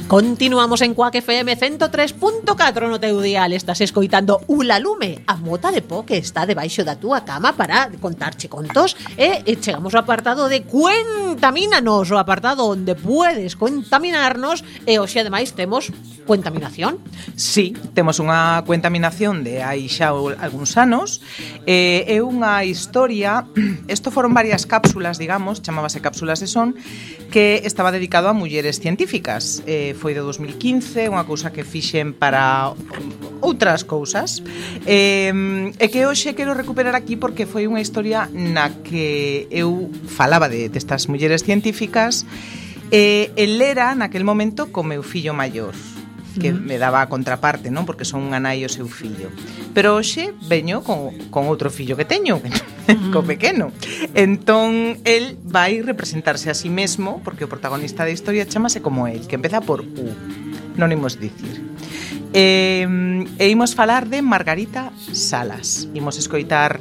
Continuamos en Cuac FM 103.4 no teu dial. Estás escoitando Ula Lume, a mota de po que está debaixo da túa cama para contarche contos. E chegamos ao apartado de Cuentamínanos, o apartado onde puedes contaminarnos. E hoxe ademais temos cuentaminación. Sí, temos unha cuentaminación de hai xa algúns anos. É unha historia, isto foron varias cápsulas, digamos, chamábase cápsulas de son, que estaba dedicado a mulleres científicas. Foi de 2015, unha cousa que fixen para outras cousas, e que hoxe quero recuperar aquí porque foi unha historia na que eu falaba destas mulleres científicas, e el era naquel momento co meu fillo maior, que me daba a contraparte, non? Porque son unha nai e o seu fillo. Pero hoxe veño con outro fillo que teño, co pequeno. Entón, el vai representarse a sí mesmo, porque o protagonista da historia chamase como el, que empeza por U, non imos dicir. E imos falar de Margarita Salas. Imos escoitar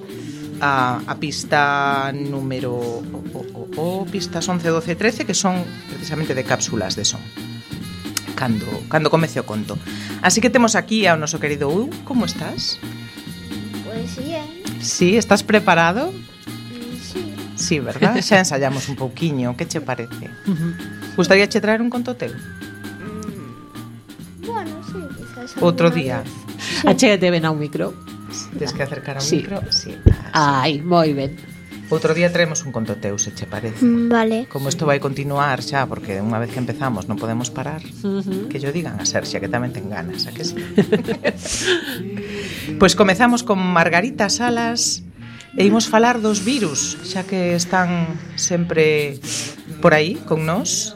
a pista número pistas 11, 12 e 13, que son precisamente de cápsulas de son. Cando comece o conto. Así que temos aquí ao noso querido U. Como estás? Pues bien. Sí, estás preparado? Sí. Sí, verdad? Xa ensayamos un pouquiño. Que che parece? Gustaría che traer un conto teu? Bueno, sí, quizás Outro alguna día. vez. Achégate ben ao micro. Tens que acercar ao Sí. micro? Sí. Ai, moi ben. Outro día traemos un conto teu, se che parece. Vale. Como isto vai continuar xa, porque unha vez que empezamos non podemos parar, que yo digan a Serxia, que tamén ten ganas, a que sí? Pois comezamos con Margarita Salas e imos falar dos virus, xa que están sempre por aí con nós.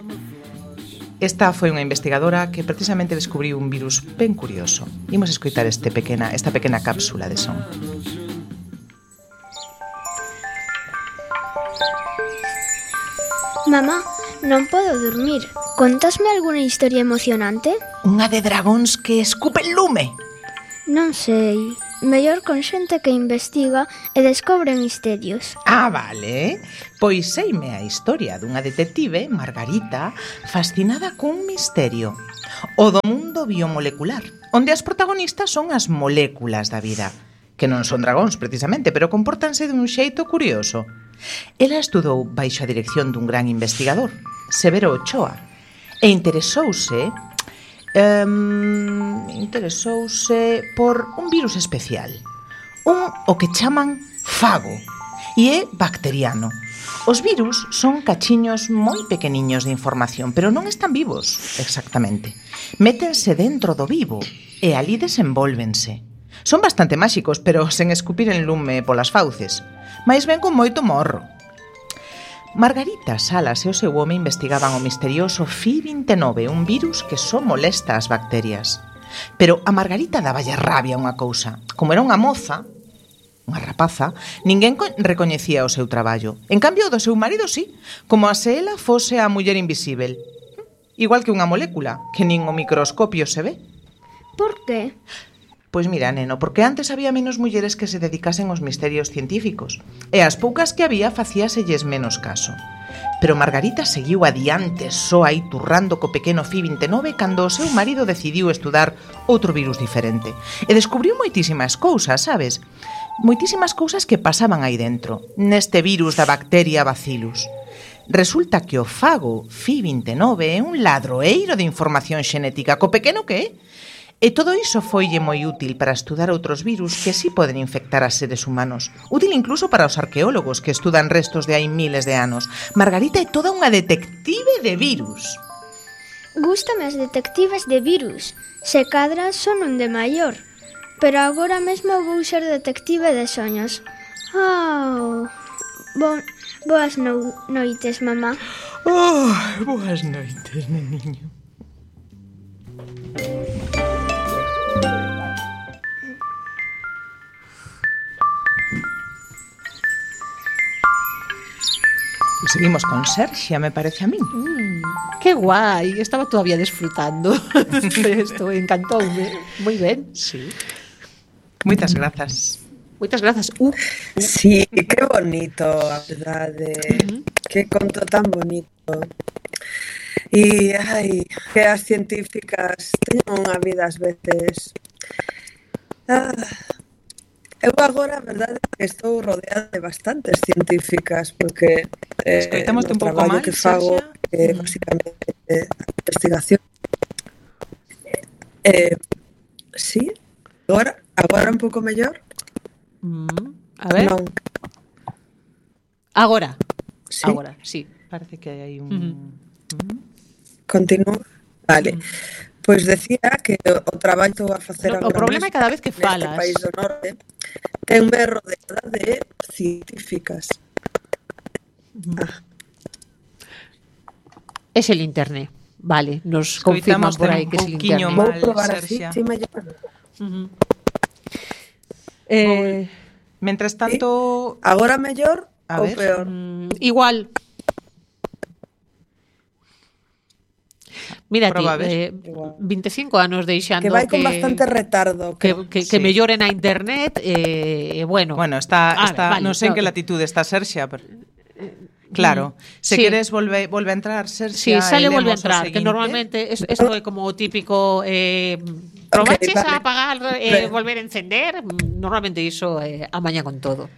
Esta foi unha investigadora que precisamente descubriu un virus ben curioso. Imos escoitar esta pequena cápsula de son. Mamá, non podo dormir. Contasme alguna historia emocionante? Unha de dragóns que escupen lume. Non sei. Mellor con xente que investiga e descobre misterios. Ah, vale. Pois seime a historia dunha detective, Margarita, fascinada cun misterio. O do mundo biomolecular, onde as protagonistas son as moléculas da vida, que non son dragóns precisamente, pero compórtanse dun xeito curioso. Ela estudou baixo a dirección dun gran investigador, Severo Ochoa, e interesouse por un virus especial, o que chaman fago, e é bacteriano. Os virus son cachiños moi pequeniños de información, pero non están vivos, exactamente. Métense dentro do vivo e ali desenvólvense. Son bastante máxicos, pero sen escupir en lume polas fauces, mais ben con moito morro. Margarita Salas e o seu home investigaban o misterioso Fi-29, un virus que só molesta as bacterias. Pero a Margarita daballe rabia unha cousa. Como era unha moza, unha rapaza, ninguén recoñecía o seu traballo. En cambio, o do seu marido sí, como a se ela fose a muller invisível. Igual que unha molécula, que nin o microscopio se ve. Por qué? Pois mira, neno, porque antes había menos mulleres que se dedicasen aos misterios científicos, e as poucas que había facíaselles menos caso. Pero Margarita seguiu adiante só aí turrando co pequeno Fi-29 cando o seu marido decidiu estudar outro virus diferente. E descubriu moitísimas cousas, sabes? Moitísimas cousas que pasaban aí dentro, neste virus da bacteria Bacillus. Resulta que o fago Fi-29 é un ladroeiro de información xenética, co pequeno que é. E todo iso foille moi útil para estudar outros virus que sí poden infectar a seres humanos. Útil incluso para os arqueólogos que estudan restos de hai miles de anos. Margarita é toda unha detective de virus. Gústame as detectives de virus. Se cadra son un de maior. Pero agora mesmo vou ser detective de soños. Boas noites, mamá. Boas noites, neniño. Seguimos con Serxia, me parece a min. Que guai, estaba todavía disfrutando isto, encantoume. Moi ben. Sí. Moitas grazas. Moitas grazas. Sí, que bonito, a verdade. Que conto tan bonito. E, que as científicas teñen unha vida ás veces... eu agora, a verdade, que estou rodeada de bastantes científicas, porque Escoitámoste no un pouco traballo máis, que fago, Serxia? basicamente, investigación. Sí, agora un pouco mellor. A ver. Non, Agora. sí, Agora, sí. Parece que hai un... continúo. Vale. Pois decía que o traballo que estou a facer O agora problema é mesmo cada vez que neste falas. país do norte tenme rodeada de científicas. Es el internet. Vale, nos confirman Escoitamos por aí un que es el pouquiño internet. Vou mal, probar así, Serxia. si mellor. Mentres tanto... Agora mellor A ou ver. peor? Igual. Mírate, Proba a ver. 25 anos deixando Que vai con bastante retardo. que Sí. mellore na internet, bueno. Bueno, está vale, non sei en que no. latitude está Serxia, pero... Claro, se Sí. queres volve a entrar, Sí, Serxia, sale e vuelve a lemos o entrar, que seguinte. normalmente esto é como o típico probaches vale. a apagar volver a encender, normalmente iso a maña con todo.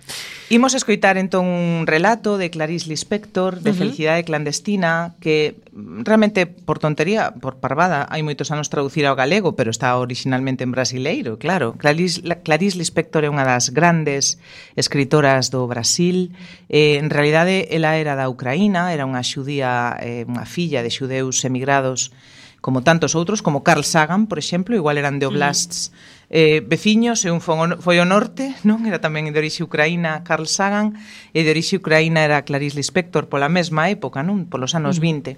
Imos escoitar entón un relato de Clarice Lispector de Felicidade clandestina que realmente por tontería, por parvada, hai moitos anos traducir ao galego, pero está originalmente en brasileiro, claro. Clarice Lispector é unha das grandes escritoras do Brasil. En realidade, ela era da Ucraína, era unha xudía, unha filla de xudeus emigrados como tantos outros, como Carl Sagan, por exemplo, igual eran de oblasts veciños, e un foi ao norte, non? Era tamén de orixe ucraína Carl Sagan, e de orixe ucraína era Clarice Lispector, pola mesma época, non? Polos anos 20,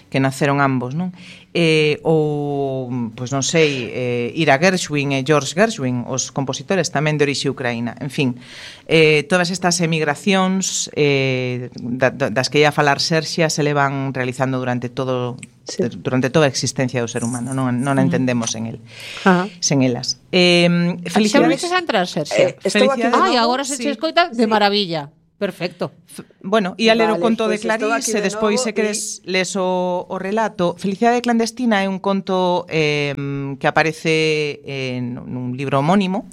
que naceron ambos, non? Ou, pois non sei, Ira Gershwin e George Gershwin, os compositores tamén de orixe ucraína. En fin, todas estas emigracións das que ia falar Serxia se levan realizando durante toda a existencia do ser humano, non a entendemos sen elas. Felicidades. Xa volveches a entrar, Serxia? Estou aquí de Ai, novo, agora se che escoita de maravilla. Perfecto. Bueno, ia ler o Vale, conto de pois estou aquí Clarice e de despois novo se queres les o relato. Felicidade clandestina é un conto que aparece nun libro homónimo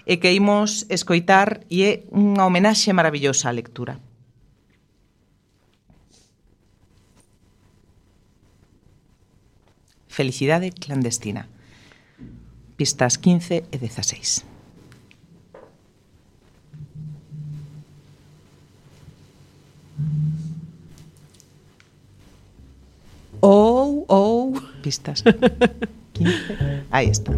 e que imos escoitar e é unha homenaxe maravillosa á lectura. Felicidade clandestina. Pistas 15 e 16. Pistas 15. Aí está.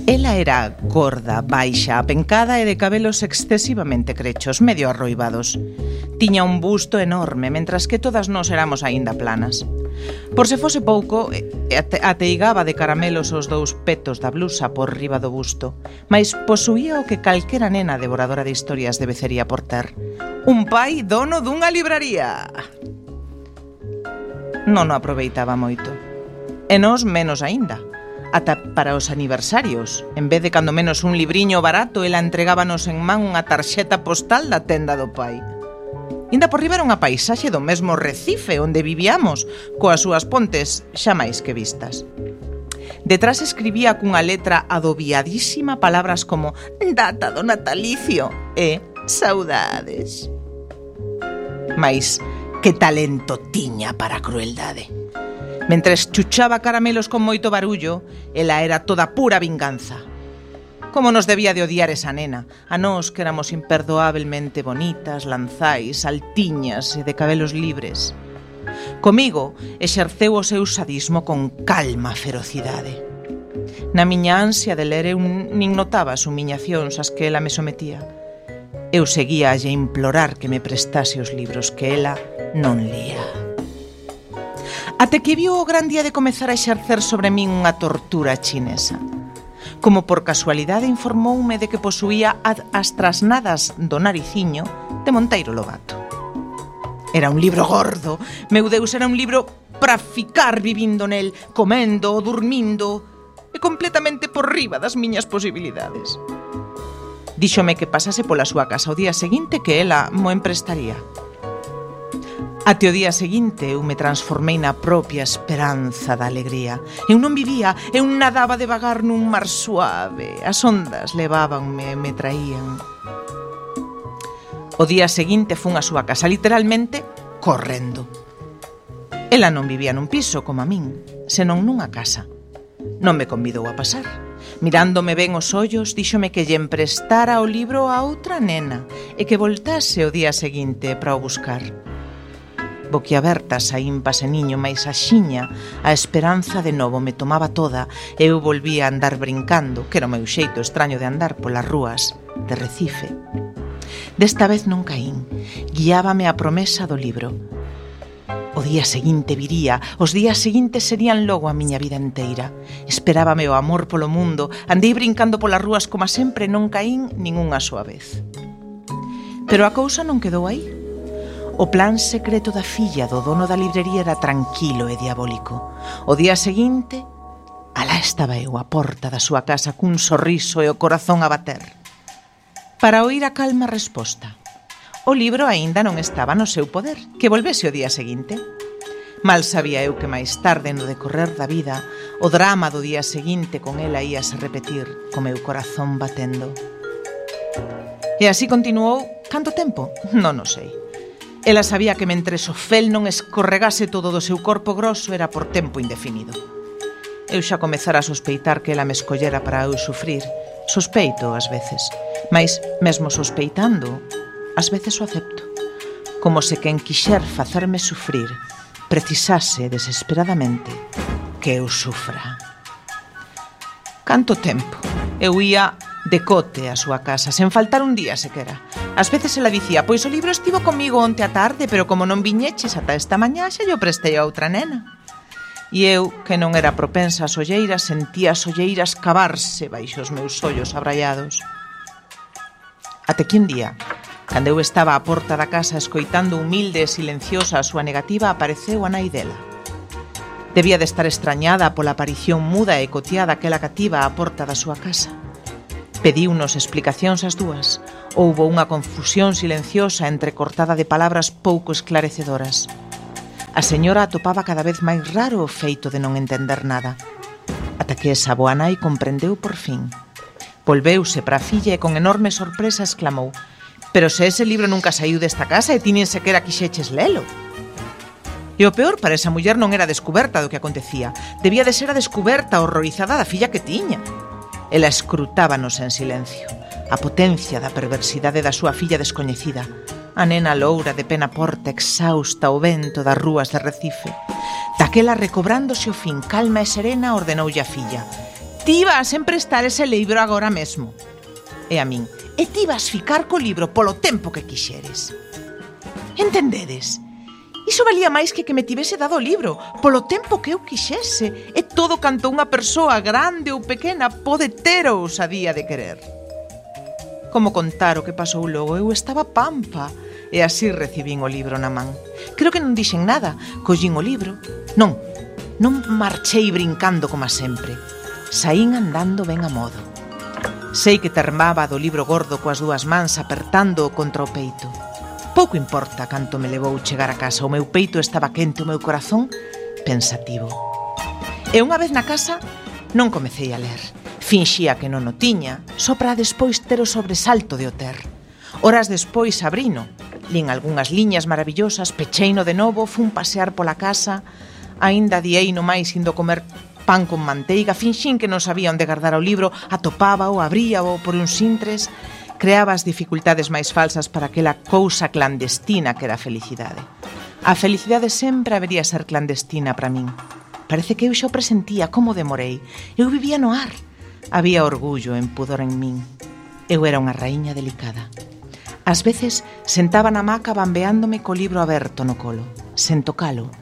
Ela era gorda, baixa, apencada e de cabelos excesivamente crechos, medio arroibados. Tiña un busto enorme, mentras que todas nós éramos aínda planas. Por se fose pouco, ateigaba de caramelos os dous petos da blusa por riba do busto, mais posuía o que calquera nena devoradora de historias debecería por ter: un pai dono dunha libraría. Non o aproveitaba moito. E nós menos aínda. Ata para os aniversarios, en vez de cando menos un libriño barato, ela entregábanos en man unha tarxeta postal da tenda do pai. Inda por riba era unha paisaxe do mesmo Recife onde vivíamos, coas súas pontes xa máis que vistas. Detrás escribía cunha letra adobiadísima palabras como data do natalicio e saudades. Mais que talento tiña para a crueldade. Mentres chuchaba caramelos con moito barullo, ela era toda pura vinganza. Como nos debía de odiar esa nena, a nós que éramos imperdoablemente bonitas, lanzais, altiñas e de cabelos libres. Comigo exerceu o seu sadismo con calma ferocidade. Na miña ansia de ler eu nin notaba as humillacións ás que ela me sometía. Eu seguía a lle implorar que me prestase os libros que ela non lía. Até que viu o gran día de comezar a exercer sobre min unha tortura chinesa. Como por casualidade informoume de que posuía as trasnadas do nariciño de Monteiro Lobato. Era un libro gordo, meu Deus, era un libro para ficar vivindo nel, comendo, dormindo, e completamente por riba das miñas posibilidades. Díxome que pasase pola súa casa o día seguinte que ela mo emprestaría. Até o día seguinte eu me transformei na propia esperanza da alegría. Eu non vivía, eu nadaba devagar nun mar suave. As ondas levábanme e me traían. O día seguinte fun á súa casa, literalmente correndo. Ela non vivía nun piso como a min, senón nunha casa. Non me convidou a pasar. Mirándome ben os ollos, díxome que lle emprestara o libro a outra nena e que voltase o día seguinte para o buscar. Boquiaberta saín pase niño, mais axiña a esperanza de novo me tomaba toda e eu volvía a andar brincando, que era o meu xeito extraño de andar polas rúas de Recife. Desta vez non caín, guiábame a promesa do libro. O día seguinte viría, os días seguintes serían logo a miña vida inteira. Esperábame o amor polo mundo, andei brincando polas rúas como sempre, non caín nin unha soa vez. Pero a cousa non quedou aí. O plan secreto da filla do dono da librería era tranquilo e diabólico. O día seguinte, alá estaba eu á porta da súa casa cun sorriso e o corazón a bater. Para oír a calma resposta. O libro aínda non estaba no seu poder, que volvese o día seguinte. Mal sabía eu que máis tarde no decorrer da vida o drama do día seguinte con ela íase repetir co meu corazón batendo. E así continuou canto tempo? Non o sei. Ela sabía que mentres o fel non escorregase todo do seu corpo grosso era por tempo indefinido. Eu xa comezara a sospeitar que ela me escollera para eu sufrir. Sospeito ás veces, mais mesmo sospeitando, ás veces o acepto. Como se quen quixer facerme sufrir precisase desesperadamente que eu sufra. Canto tempo? Eu ia decote a súa casa, sen faltar un día sequera. Ás veces ela dicía, pois o libro estivo comigo onte a tarde, pero como non viñeches ata esta mañá, xa yo prestei a outra nena. E eu, que non era propensa ás olleiras, sentía as olleiras cavarse baixo os meus ollos abraiados. Até que un día, cando eu estaba á porta da casa escoitando humilde e silenciosa a súa negativa, apareceu a nai dela. Debía de estar extrañada pola aparición muda e coteada que ela cativa á porta da súa casa. Pediunos explicacións as dúas. Houbo unha confusión silenciosa entrecortada de palabras pouco esclarecedoras. A señora atopaba cada vez máis raro o feito de non entender nada. Ata que esa boa nai comprendeu por fin. Volveuse para a filla e con enorme sorpresa exclamou: «Pero se ese libro nunca saiu desta casa e ti nin sequera quixeches lelo». E o peor para esa muller non era a descuberta do que acontecía. Debía de ser a descuberta horrorizada da filla que tiña. Ela escrutábanos en silencio. A potencia da perversidade da súa filla descoñecida. A nena loura de pena porta exhausta ao vento das rúas de Recife. Daquela, recobrándose o fin calma e serena, ordenoulle a filla: «Ti vas emprestar ese libro agora mesmo». E a min: «E ti vas ficar co libro polo tempo que quixeres». Entendedes? Iso valía máis que me tivese dado o libro, polo tempo que eu quixese, e todo canto unha persoa grande ou pequena pode ter a ousadía de querer. Como contar o que pasou logo? Eu estaba pampa, e así recibín o libro na man. Creo que non dixen nada, collín o libro. Non marchei brincando como sempre. Saín andando ben a modo. Sei que termaba do libro gordo coas dúas mans apertando-o contra o peito. Pouco importa canto me levou chegar a casa. O meu peito estaba quente, o meu corazón pensativo. E unha vez na casa non comecei a ler. Finxía que non o tiña, só para despois ter o sobresalto de o ter. Horas despois abrino, lín algunhas liñas maravillosas, pecheino de novo, fun pasear pola casa, aínda diei no máis indo comer pan con manteiga, finxín que non sabía onde guardar o libro, atopábao, abríao por uns intres. Creaba as dificultades máis falsas para aquela cousa clandestina que era a felicidade. A felicidade sempre habería ser clandestina para min. Parece que eu xa o presentía, como demorei. Eu vivía no ar. Había orgullo e pudor en min. Eu era unha raíña delicada. Ás veces sentaba na hamaca bambeándome co libro aberto no colo, sen tocalo,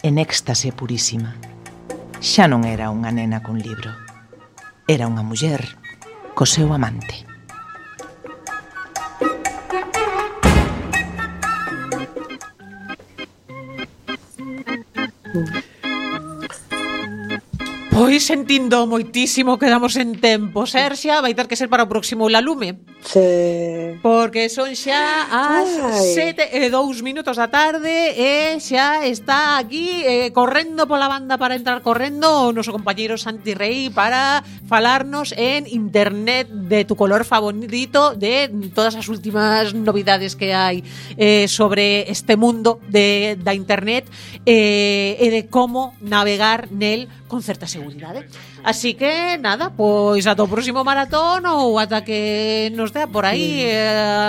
en éxtase purísima. Xa non era unha nena con libro. Era unha muller co seu amante. Pois sentindo moitísimo que damos en tempo, Serxia, vai ter que ser para o próximo Ulalume. Sí. Porque son xa as 7:02 da tarde e xa está aquí correndo pola banda para entrar correndo o noso compañeiro Santi Rey para falarnos en internet de tu color favorito, de todas as últimas novidades que hai sobre este mundo da internet e de como navegar nel con certa seguridade. Así que, nada, pois ata o próximo maratón ou ata que nos dea por aí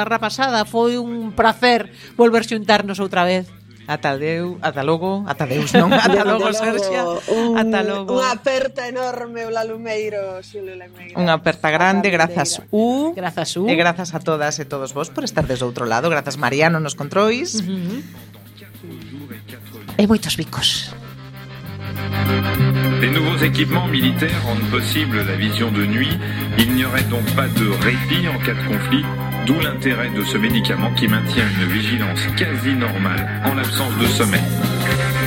rapasada. Foi un placer volver xuntarnos outra vez. Ata logo, Serxia. Ata logo. Unha aperta enorme, Ulalumeiro. Unha aperta grande, grazas U. Grazas U. E grazas a todas e todos vos por estar desde outro lado. Grazas Mariano nos controis. E moitos bicos. Les nouveaux équipements militaires rendent possible la vision de nuit. Il n'y aurait donc pas de répit en cas de conflit, d'où l'intérêt de ce médicament qui maintient une vigilance quasi normale en l'absence de sommeil.